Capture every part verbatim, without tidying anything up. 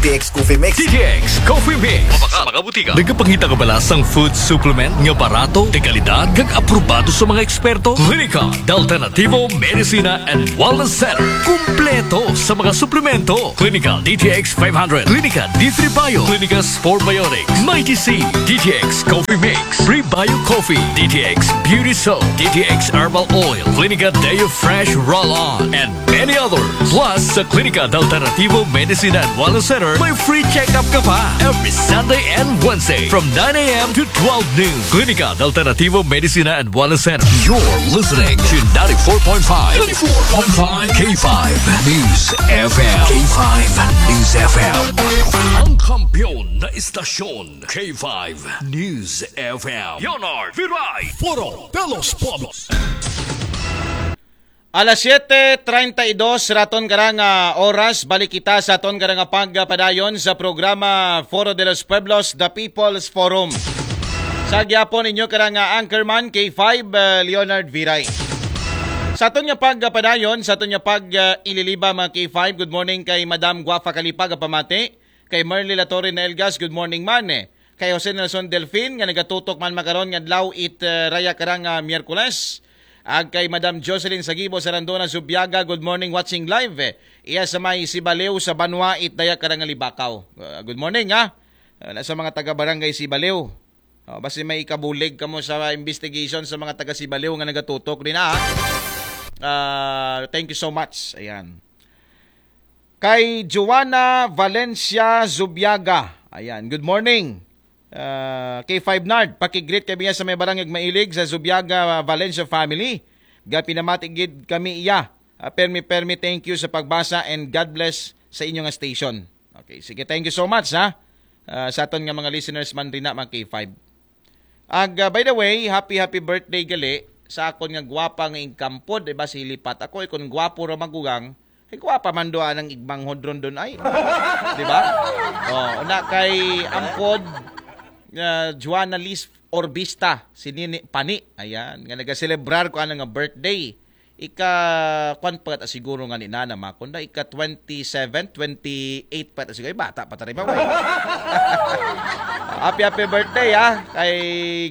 T X Coffee Mix. D T X Coffee Mix. Mabakal sa mga butika. Nagapangita ka bala sang food supplement nga barato, de kalidad, kag aprobado sa mga eksperto? Klinika de Alternativo Medicina and Wellness Center. Kumpleto sa mga suplemento. Klinika D T X five hundred, Klinika D three Bio, Klinika Sport Biotics, Mighty C, D T X Coffee Mix, Prebio Coffee, D T X Beauty Soap, D T X Herbal Oil, Klinika Deo Fresh Roll-On, and many others. Plus, sa Klinika de Alternativo Medicina and Wellness Center, may free check-up ka pa every Sunday and Wednesday from nine a.m. to twelve noon. Klinika de Alternativo Medicina and Wellness Center. You're listening to ninety-four point five, ninety-four point five K five News F M. K five News F M. Ang kampiyon na istasyon, K five News F M. Leonard Viray. Foro de los Pueblos. Alas siete treinta y dos raton karang ah, oras, balik kita sa aton karang ah, pagpadayon sa programa Foro de los Pueblos, The People's Forum. Sa gyapon inyo karang ah, anchorman K five ah, Leonard Viray. Sa aton nga pagpadayon, sa aton nga pag ah, ililiba mga K five, good morning kay Madam Guafa Kalipa nga pamati, kay Merly Latorre na Elgas, good morning man eh. Kay Jose Nelson Delfin nga nagatutok man makaron nga adlaw it uh, raya karang uh, Miyerkules. Ag kay Madam Jocelyn Sagibo Sarandona Zubiaga, good morning, watching live. Iya sa may Sibaliw sa Banwa it daya karang Libakaw. Uh, good morning ha. Uh, sa mga taga barangay Sibaliw. Oh, basi may ikabulig kamo sa investigation sa mga taga Sibaliw nga nagatutok din ha. Uh, thank you so much. Ayan. Kay Joanna Valencia Zubiaga. Ayan, good morning. Uh, K five Nard, pakigreet kami sa may barangay Mailig sa Zubiaga Valencia family. Ga pinamati gid kami iya. Uh, permi permi thank you sa pagbasa and God bless sa inyo nga station. Okay, sige, thank you so much ha. Uh, sa aton nga mga listeners man rin na mga K five. Ag uh, by the way, happy happy birthday gali sa akon nga gwapa nga ingkampod, diba si Lipat. Ako ikon gwapo ra magugang, ay gwapa man do anang igmanghod ron dun ay. Diba? Oh, na kay angkod uh, Joanna Liz Orbista, si Nini Pani. Ayan, nga nagaselebrar ko anang nga birthday. Ika kwan pa ta siguro nga ni nana makon da ika twenty-seven, twenty-eight pa ta siguro. Ay, bata pa ta rin ba? Happy happy birthday ha kay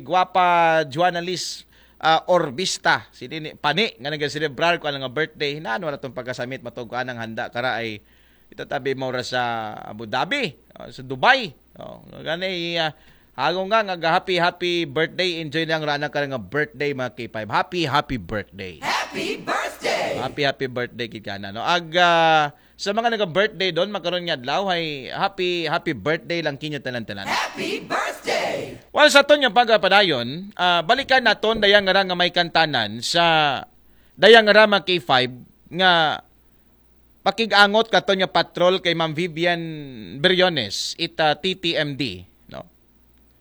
gwapa Joanna Liz uh, Orbista. Si Nini Pani nga nagaselebrar ko anang nga birthday. Nano na tong pagkasamit matog ko anang handa kara ay itatabi mo ra sa Abu Dhabi, uh, sa Dubai. Oh, gani uh, Hago nga nga happy happy birthday, enjoy lang rana ka nga birthday mga K five. Happy happy birthday. Happy birthday! Happy happy birthday gid kana no. Ag ah, sa mga naga birthday don makaron nga adlaw ay happy happy birthday lang kinyo tanan-tanan. Happy birthday! Well, sa aton nga pagpadayon, ah, balikan naton dayang nga may kantanan sa dayang nga mga K five nga pakig-angot katon nga patrol kay Ma'am Vivian Briones, ita T T M D, no?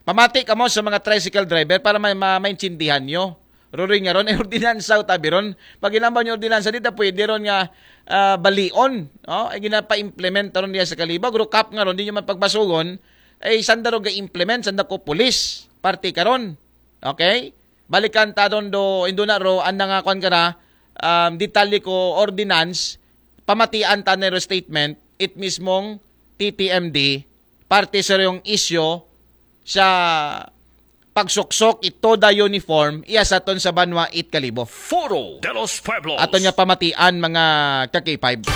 Pamati kamo sa mga tricycle driver para may ma maintindihan nyo. Ruri nga ron, eh, ordinansa o tabi ron. Pag ginambaw nyo ordinansa, di ta pwede ron nga ah, balion. No? Ay ginapa-implement ron diya sa Kalibo. Guro kap nga ron, di nyo man pagbasugon. Ay sanda ro ga-implement, sanda ko pulis. Parte ka ron. Okay? Balikan ta ron do, indo na ro, anda nga kwan ka na, um, detalye ko ordinance, pamatian ta na ro statement, it mismong T T M D, parte sa yung isyo sa pagsuksok ito da uniform, iya sa aton sa banwa it Kalibo. Foro de los Pueblos. Aton nga pamatian mga ka K five.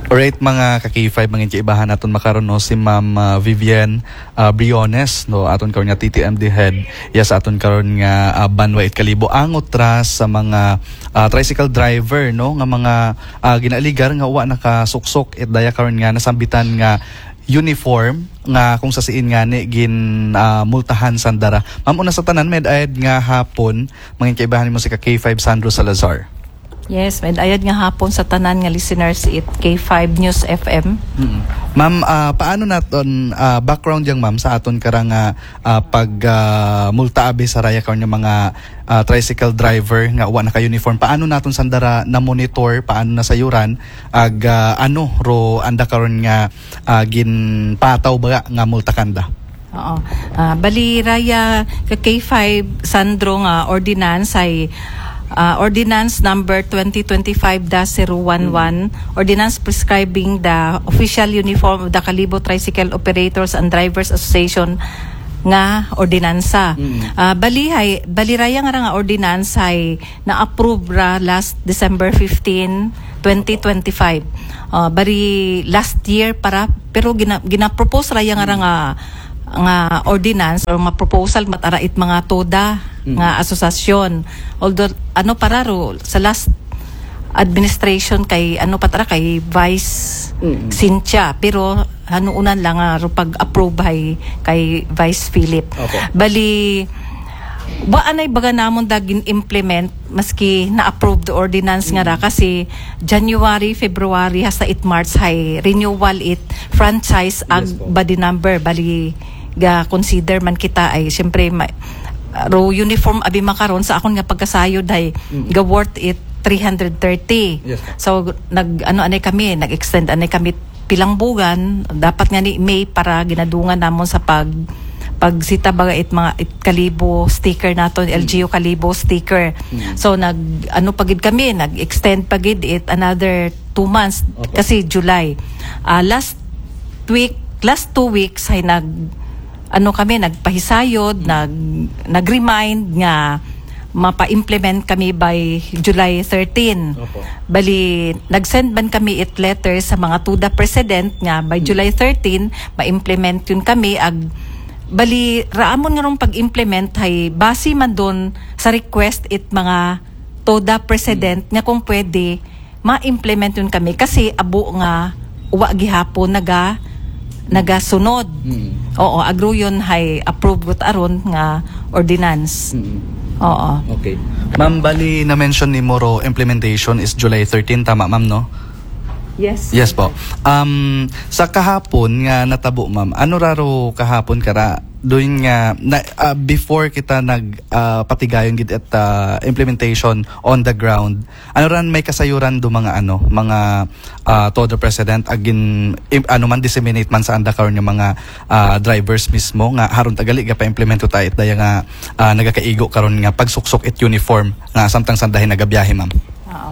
Alright, mga ka K five, mga kaibahan, aton makaron no si Ma'am ah, Vivian ah, Briones, no, aton karon nga T T M D head, iya sa aton karon nga ah, banwa it Kalibo, angot ra sa mga ah, tricycle driver, no, nga mga ah, ginaaligar nga wa nakasuksok it daya karon nga nasambitan nga uniform nga kung sa siin nga ni gin ah, multahan sandara. Ma'am, una sa tanan, med-ayad nga hapon, mga kaibahan mo si ka K five Sandro Salazar. Yes, med-ayad nga hapon sa tanan nga listeners it K five News F M. Mm. Ma'am, ah, paano naton ah, background yang ma'am sa aton karang ah, ah, pag ah, multa abi sa raya karon nga mga ah, tricycle driver nga wa naka-uniform? Paano naton sandara na monitor, paano nasayuran ag ah, ano ro anda karon nga ah, ginpataw ba nga multa kanda? Oo. Ah, bali raya ka K five Sandro nga ordinance ay Ah, Ordinance Number twenty twenty-five dash zero one one, Ordinance Prescribing the Official Uniform of the Kalibo Tricycle Operators and Drivers Association nga ordinansa. Ah, bali hay, bali raya nga ra nga ordinance hay na-approve ra last December fifteen, twenty twenty-five. Ah, bali last year para, pero gina, gina-propose raya nga ra nga nga ordinance or mga proposal mat ara it mga TODA nga asosasyon. Although ano para ro sa last administration kay ano pa tara kay Vice Cynthia, pero hanuunan lang nga ro pag-approve hay kay Vice Philip. Opo. Bali wa anay baga namon dagin implement maski na-approve the ordinance nga ra kasi January, February hasta it March hay renewal it franchise ag Yes po. Body number. Bali ga consider man kita ay siyempre ma, ro uniform abi makaron sa akon nga pagkasayod hay ga worth it three hundred thirty. Yes po. So nag ano anay kami, nag-extend anay kami pilang bugan, dapat nga ni May para ginadungan namon sa pag pagsita baga it mga it Kalibo sticker naton, L G U Kalibo sticker. So nag ano pa gid kami, nag-extend pa gid it another two months Opo. Kasi July. Ah, last week, last two weeks ay nag ano kami nagpahisayod, nag nag-remind nga mapa-implement kami by July thirteen. Opo. Bali nag-send man kami it letter sa mga TODA president nga by July thirteen ma-implement yun kami ag bali raamon nga rong pag-implement hay base man don sa request it mga TODA president nga kung pwede ma-implement yun kami kasi abo nga wa gihapon naga nagasunod. Oo, agruyon hay approve got aron nga ordinance. Oo. Okay. Ma'am, bali na-mention ni Moro implementation is July thirteen, tama ma'am, no? Yes. Yes po. Um, sa kahapon nga natabo ma'am, ano raro kahapon kara doon nga na, ah, before kita nag ah, patigayon gid at ah, implementation on the ground, ano ran may kasayuran do mga ano, mga ah, TODA president agin im, ano man disseminate man sa anda karon nga mga ah, drivers mismo nga haron tagali ga pa-implement ta it daya nga ah, nagakaigo karon nga pagsuksok it uniform nga samtang sandahin nagabiyahe ma'am. Oo.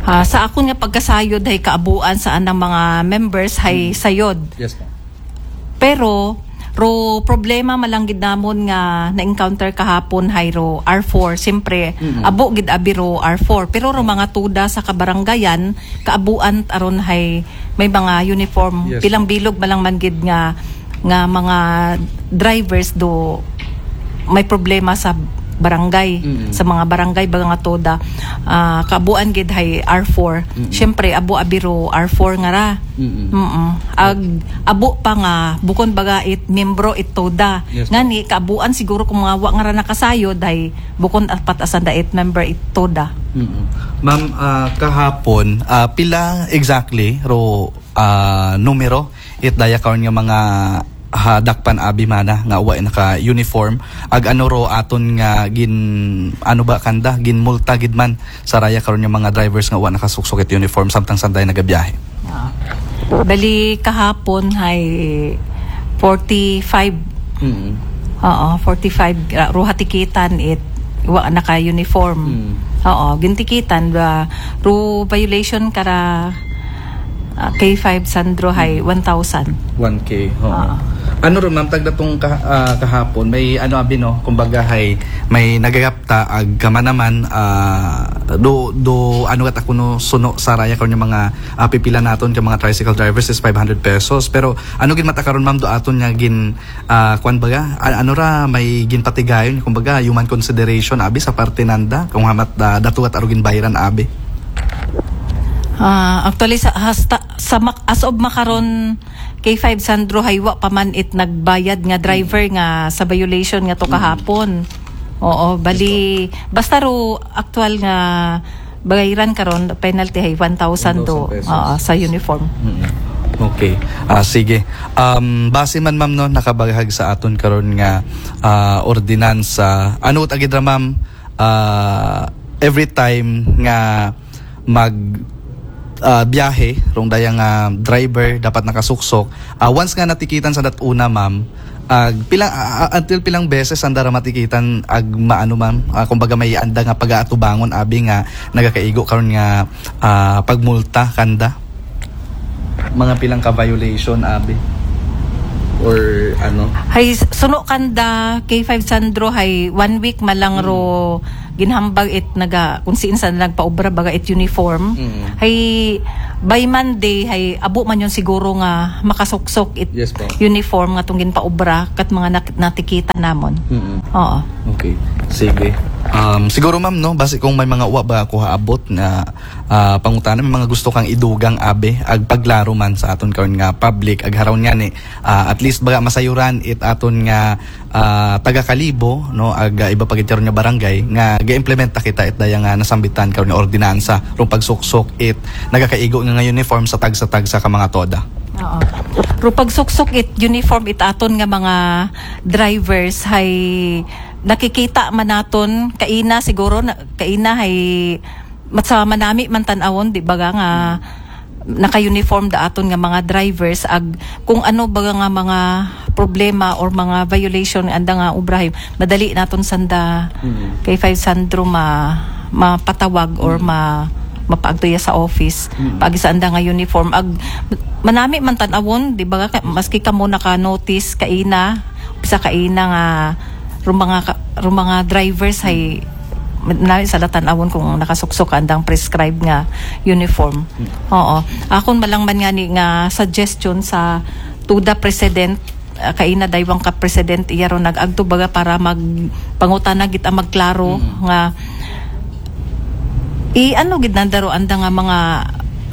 Ah, sa akon nga pagkasayod hay kaabuan sa anang mga members hay sayod. Yes ma'am. Pero ro problema malanggid namon nga na-encounter kahapon hay ro R four. Siyempre, abo gid abi ro R four. Pero ro mga TODA sa kabarangayan, kaabuan aron hay may mga uniform. Yes. Pilang bilog malang man gid nga nga mga drivers do may problema sa barangay, sa mga barangay baga nga TODA. Ah, kaabuan gid hay R four. Siyempre, abo abi ro R four nga ra. Mm-mm. Ag abo pa nga bukon baga it membro it TODA. Yes, Ngani kaabuan siguro kung mga wa nga ra nakasayod hay bukon apat asanda it member it TODA. Ma'am, ah, kahapon ah, pila exactly ro ah, numero it daya karon nga mga hadakpan abi mana nga wa naka uniform ag ano ro aton nga gin ano ba kanda gin multa gid man sa raya karon nga mga drivers nga wa nakasuksok it uniform samtang sanday nagabiyahe. Ah. Bali kahapon hay forty-five. Oo, forty-five ra- ruha tikitan it wa naka uniform. Oo, gintikitan ba ru violation kara ah, K five Sandro hay one thousand. One K. Oo. Ano ron ma'am tagdatong kah- ah, kahapon may ano abi no kumbaga hay may nagagapta ag kamanaman ah, do do ano gat ako no suno sa raya karon nga mga ah, pipila naton ka mga tricycle drivers is five hundred pesos pero ano gid mata karon ma'am do aton nga gin ah, kwan baga a- ano ra may ginpatigayon kumbaga human consideration abi sa parte nanda kung hamat ah, datugat arugin bahiran abi. Ah, actually sa hasta sa mak- as of makaron K five Sandro hay wa pa man it nagbayad nga driver nga sa violation nga to kahapon. Oo, bali basta ro aktual nga bayran karon penalty hay one thousand do. One thousand pesos. Oo, sa uniform. Okay. Ah sige. Um base man ma'am no nakabahag sa aton karon nga ah, ordinansa. Ano ta gid ra ma'am ah, every time nga mag ah, biyahe rong daya nga driver dapat nakasuksok. Ah, once nga natikitan sa dat una ma'am, Ag pilang, ah, ah, until pilang beses sanda ra matikitan ag maano, ma'am? Ah, kumbaga, may anda nga pagaatubangon abi nga nagakaigo karon nga, ah, pagmulta kanda? Mga pilang ka violation abi? Or ano? Hay, suno kanda, K five Sandro, hay one week man lang ro ginhambag it naga, kung siin sa nagpaobra baga it uniform. Mm. Hay, by Monday, hay abo man yon siguro nga makasuksok it Yes po. uniform nga tong ginpaobra kat mga nak- natikita namon. Mm. Oo. Okay. Sige. Um, siguro, ma'am, no, basi kung may mga uwa ba ako haabot nga, ah, pangutana, may mga gusto kang idugang abi, ag paglaro man sa aton karon nga public, ag haron nga ni, ah, at least baga masayuran it aton nga, ah, taga Kalibo, no, ag, ah, iba pa gid karon nga barangay nga ga-implementa kita it daya nga nasambitan karon nga ordinansa rong pagsuksok it nagakaigo nga, nga uniform sa tagsa-tagsa ka mga toda. Oo. Pero pagsuksok it uniform it aton nga mga drivers, hay nakikita man naton kaina siguro na, kaina hay mat sa manami man tan-awon, di ba, nga naka-uniform da aton nga mga drivers, ag kung ano ba nga mga problema or mga violation anda nga obrahay, madali naton sanda Mm. K five Sandro ma mapatawag or ma mapaagtoya sa office. Mm. Pag sa anda nga uniform, ag manami man tan-awon, di ba, ka- maski kamo naka-notice kaina, sa kaina nga rong mga ka- rong mga drivers hay nami sa latan-awon kung nakasuksok andang prescribed nga uniform. Oo. Akon malang man nga ni nga suggestion sa TODA president, ah, kaina daywang ka president, iya ro nag-agto baga para mag pangutana gid ang magklaro nga i ano gid nanda ro anda nga mga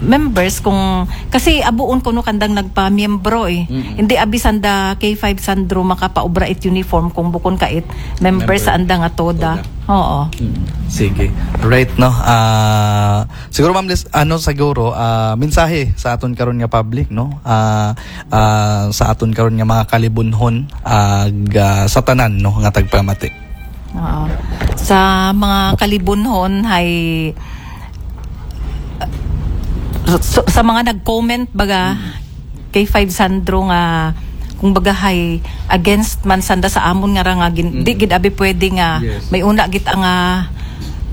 members kung kasi abuon kuno kandang nagpamiyembro eh. Mm. Hindi abi sanda K five Sandro makapaobra it uniform kung bukon ka it member Member. Sa anda nga TODA. TODA. Oo. Mm. Sige. Right, no? Ah, siguro, ma'am, Liz, ano siguro, ah, mensahe sa aton karon nga public, no? Ah, ah, sa aton karon nga mga kalibunhon, ag, ah, sa tanan, no, nga tagpamati. Oo. Sa mga kalibunhon hay sa, sa mga nag-comment baga K five Sandro nga kung baga hay against man sanda sa amon nga ra nga gin, di gid abi pwede nga Yes. may una gid nga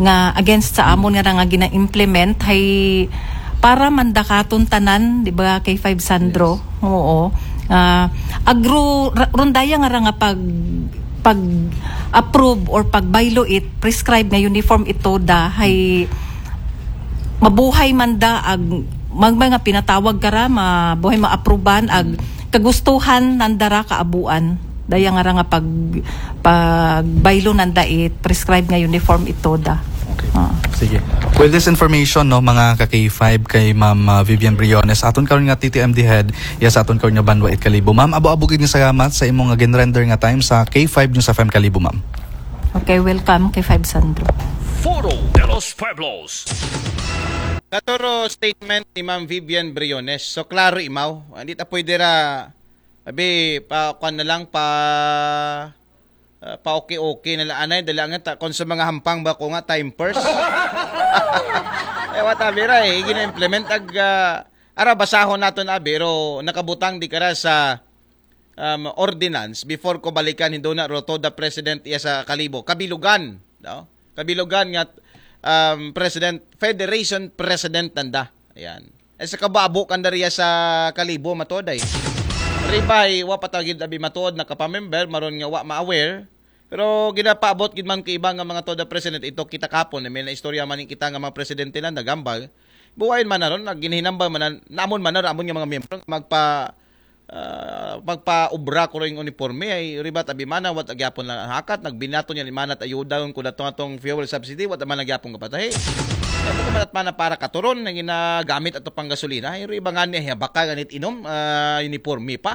nga against sa amon nga ra nga gina-implement hay para man da katon tanan, di ba, K five Sandro? Oo. Ah, agro ra- rondaya nga ra nga pag pag approve or pag bylaw it prescribe nga uniform ito da hay mabuhay man da ag mag mga pinatawag ka ra mabuhay maapruban ag kagustuhan nanda ra kaabuan daya nga ra nga pag pag bylaw nanda it prescribe nga uniform ito da. Okay. Ah. Sige. With this information, no, mga ka K five, kay Ma'am, ah, Vivian Briones, aton karon nga T T M D head, ya sa aton karon nga banwa it Kalibo. Ma'am, abo-abo gid nga salamat sa imong nga ginrender nga time sa K five News F M Kalibo, ma'am. Okay, welcome K five Sandro. Foro de los Pueblos. Katuro statement ni Ma'am Vivian Briones. So, klaro imaw. Hindi ta pwede ra, abi, pa, kwan na lang, pa, uh, pa okay-okay na lang. Anay, dala nga, ta, kung sa mga hampang ba ko nga, time first. Eh, what abi ra eh. Gina-implement ag, ah, ara, basahon naton abi, ro nakabutang di kara sa um, ordinance before ko balikan hindo na ro TODA president iya sa Kalibo. Kabilugan, no? Kabilugan nga um, president, federation president nanda. Ayan. Eh, sa kababo kanda riya sa Kalibo, matuod ay. Ribay, wa pa tagid abi matuod, nakapamember, maron nga wa ma-aware. Pero ginapaabot gid man kay iba nga mga TODA president, ito kita kapon, may na istorya man kita nga mga presidente lang nagambal. Buwayon man naron, nagginhinambal man na, namon man naron, amon nga mga miyembro, magpa ah, magpaubra ko ring uniforme ay ribat abi mana wat agyapon lang hakat nagbinato niya ni mana at ayuda ko dato atong fuel subsidy wat man agyapon kapatahi. Ay mo kumalat mana para katuron na ginagamit ato pang gasolina. Ay riba nga niya baka ganit inom, ah, uniforme pa.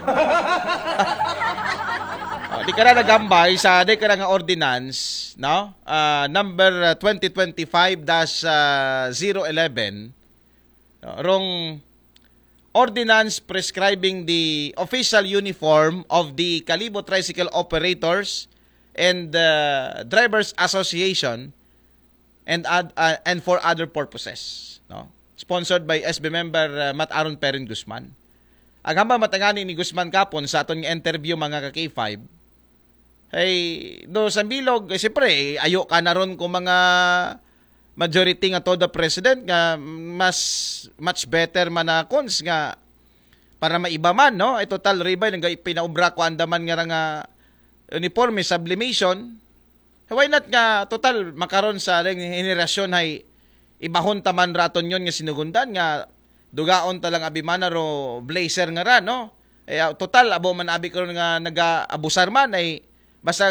Oh, di ka na nagambay sa di ka na nga ordinance, no? Ah, number, ah, twenty twenty-five dash zero eleven. No? Rong ordinance prescribing the official uniform of the Kalibo Tricycle Operators and, uh, Drivers Association and ad- uh, and for other purposes, no? Sponsored by S B member, uh, Mat Aaron Perin Guzman. Ang hambal matangani ni Guzman kapon sa aton nga interview, mga ka-K five, ay, do sa bilog, eh, siyempre, eh, ayo ka na ron kung mga majority nga to the president nga mas, much better man na cons nga para maiba man, no? Ay, total, Ribay, nang pinaubra ko andaman nga ra nga uniforme, sublimation. Why not nga, total, makaron sa ring henerasyon ay ibahon taman raton yon nga sinugundan nga dugaon talang abimana ro blazer nga ra, no? Eh, ah, total, abo man abi karon nga naga-abusar man ay basta